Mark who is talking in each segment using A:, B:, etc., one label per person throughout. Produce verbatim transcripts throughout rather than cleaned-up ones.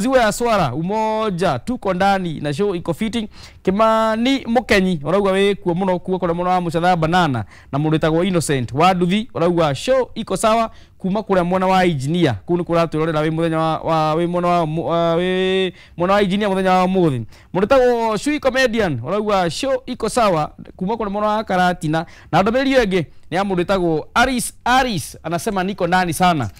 A: Maziwa ya swara umoja tuko ndani na show iko fitting. Kimani Mukenyi urauga wi kuo muno kuo kuria muno wa Mucatha Banana na mundu witagwo Innocent Wanduthi urauga show iko sawa kuma kuria mwena wa engineer kuu ni kuratwirorera wi muthenya wa, wa wi mwena wa uh, wi mwena wa engineer muthenya wa muthi. Mundu witagwo Shui Comedian urauga show iko sawa kuma kuria mwena wa Karatina. Na ndumiriri ĩyo ĩngĩ ni ya mundu witagwo Aris Aris anasema niko ndani sana.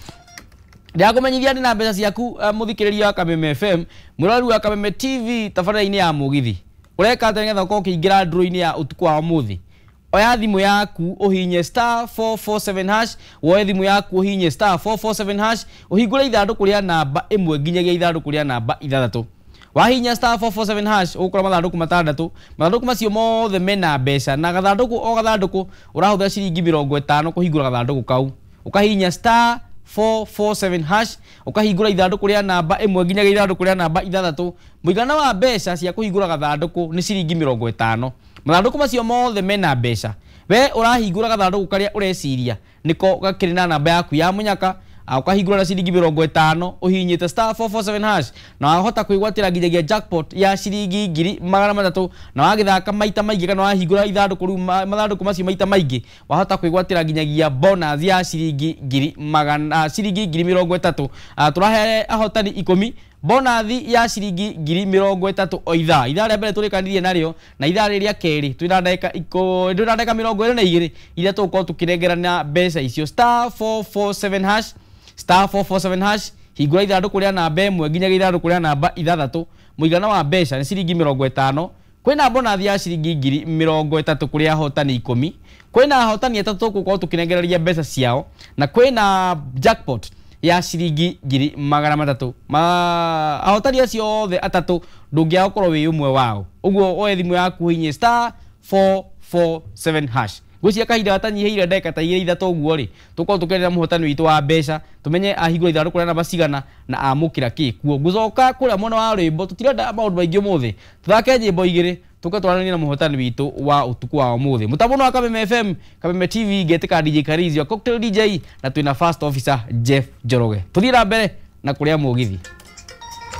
A: Ndĩrakũmenyithia ndĩ na mbeca ciaku uh, mũthikĩrĩria wa Kameme F M, mwĩroreri wa Kameme T V tabarĩra-inĩ ya mũgithi. Ũreka atĩa nĩgetha ũkorwo ũkĩingĩra draw-inĩ ya ũtukũ wa ũmũthĩ? Oya thimũ yaku ũhinye star four four seven hash, woe thimũ yaku ũhinye star four four seven hash, ũhingũre ithandũkũ rĩa namba ĩmwe nginyagia ithandũkũ rĩa namba ithathatũ. Wahinya star four four seven hash ũgũkora mathandũkũ matandatũ. Mathandũkũ macio mothe mena mbeca na gathandũkũ o gathandũkũ ũrahũthĩra ciringi mĩrongo ĩtano kũhingũra gathandũkũ kau. Ũkahinya star four four seven hash ukahingura ithandũkũ rĩa namba ĩmwe nginyagia ithandũkũ rĩa namba ithathatũ. Mũigana wa mbeca cia kũhingũra gathandũkũ nĩ ciringi mĩrongo ĩtano. Mathandũkũ macio mothe mena mbeca. We ũrahingũra gathandũkũ karĩa ũreciria nĩko gakĩrĩ na namba yaku ya mũnyaka, ukahingũra na ciringi mĩrongo ĩtano ũhihinyĩte star four four seven hash na wahota kwĩgwatĩra nginyagia jackpot ya ciringi ngiri magana matatũ. Na wagĩthaka maita maingĩ kana wahingũra ithandũkũ rĩu mathandũkũ macio maita maingĩ wahota kwĩgwatĩra nginyagia bonus ya ciringi ngiri magana ciringi ngiri mĩrongo ĩtatũ. Tũrahe ahotani ikũmi bonus ya ciringi ngiri mĩrongo ĩtatũ o ithaa. Ithaa rĩa mbere tũrĩkanirie narĩo na ithaa rĩrĩ rĩa kerĩ twĩna ndagĩka ikũ twĩna ndagĩka mĩrongo ĩrĩ na igĩrĩ iria tũgũkorwo tũkĩnengerana mbeca icio. Star four four seven hash star four four seven hash hingũra ithandũkũ rĩa namba ĩmwe nginyagia ithandũkũ rĩa namba ithathatũ. Mũigana wa mbeca nĩ ciringi mĩrongo ĩtano. Kwĩna bonathi ya ciringi ngiri mĩrongo ĩtatũ kũrĩ ahotani ikũmi. Kwĩna ahotani atatũ tũgũkorwo tũkĩnengereria mbeca ciao na kwĩna jackpot ya ciringi ngiri magana matatũ. Ma ahotani acio othe atatũ ndũngĩaga gũkorwo wĩ ũmwe wao. Ũguo oe thimũ yaku ũhihinye star four four seven hash. Ngwĩciria kahinda gatanyihĩire ndagĩka ta igĩrĩ ithatũ ũguo rĩ, tũkorwo tũkĩarĩria mũhotani witũ wa mbeca, tũmenye ahingũra ithandũkũ rĩa namba cigana na amũkĩra kĩ kuo. Ngũcoka kũrĩa mwena wa rwĩmbo, tũtirenda maũndũ maingĩ ũmũthĩ, tũthake nyĩmbo igĩrĩ tũke twaranĩrie na mũhotani witũ wa ũtukũ wa ũmũthĩ. Mũtambo wa Kameme F M, Kameme T V, ngetĩka D J Karizio, Cocktail D J na twĩna First Officer Jeff Njoroge. Tũthiĩ na mbere na kũrĩa mũgithi.